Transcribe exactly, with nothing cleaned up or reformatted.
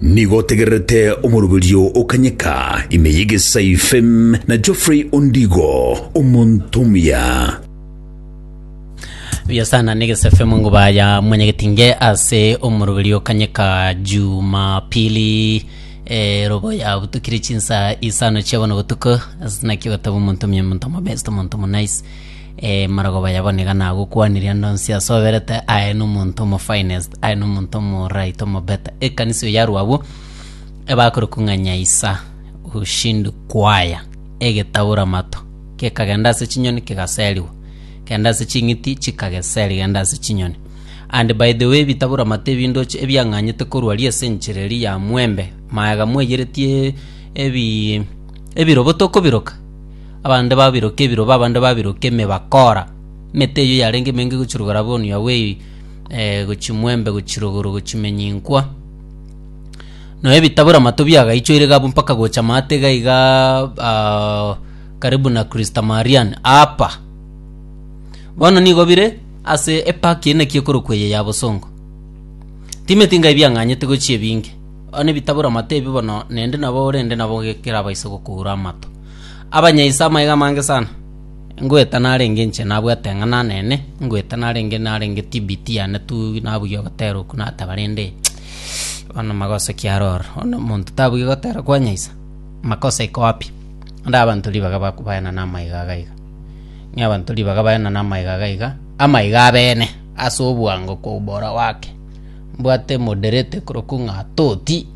Nigo otegererete omoroberio okanyeka ime y'Egesae F M na Geoffrey Ondigo, omonto omuya. Buya sana, negese F M, nguba ya mwenyegetinge, ase omoroberio kanyeka Jumapili, eh, robo ya butukire chinsa isano chia bono butuko. Naki gotaba omonto omuya, omonto omobest, omonto omonaice, eh, marogoba yaboneka nagokwaniria ndonsi asoberete aye nomonto omo finest, aye nomonto omo right, omo better. Ekanisa oyo yarwa abwo ebakorokwa ng'a Nyaisa Ushindi Kwaya, egetabura mato kekagenda ase chinyoni kegaseriwa, kenda ase ching'iti chikageseri, genda ase chinyoni. And by the way, bitabura mato ebindoche ebiang'anyete korwa ria ase enchera eri ya mwembe maega mweyeretie ebi ebirobo tokobiroka, abande babiroka ebirobo, abande babiroka emebakora. Emete eywo yarenge emenge gochirugora bono ya way, eh, gochi mwembe, gochiruguru, gochimenyinkwa no ebitabura mato biagaichoire gabu mpaka gocha maate iga iga, uh, karibu na Krista Marian apa. Bono nigo bire ase epaki eneki ekorokwa eye ya Bosongo, timeti ngai biang'anyete gochia ebinge. Bono ebitabura mato ebi bono naende nabo orende nabo kerabaise gokura amato. Abanyaisa amaiga amange sana ngweta narenge inche nabwate eng'ana nene ngweta narenge narenge T B T yane tu nabugia ogotera oku nataba rende bono magoso kiaroro. Bono omonto tabugia gotera kwa Nyaisa, makosa iko wapi? Ande abanto ribaga bakobaena na amaiga iga iga, ng'a abanto ribaga baena na amaiga iga iga, amaiga abene ase obwango kwa ubora wake. Mbwate moderator korokwa ng'a Toti.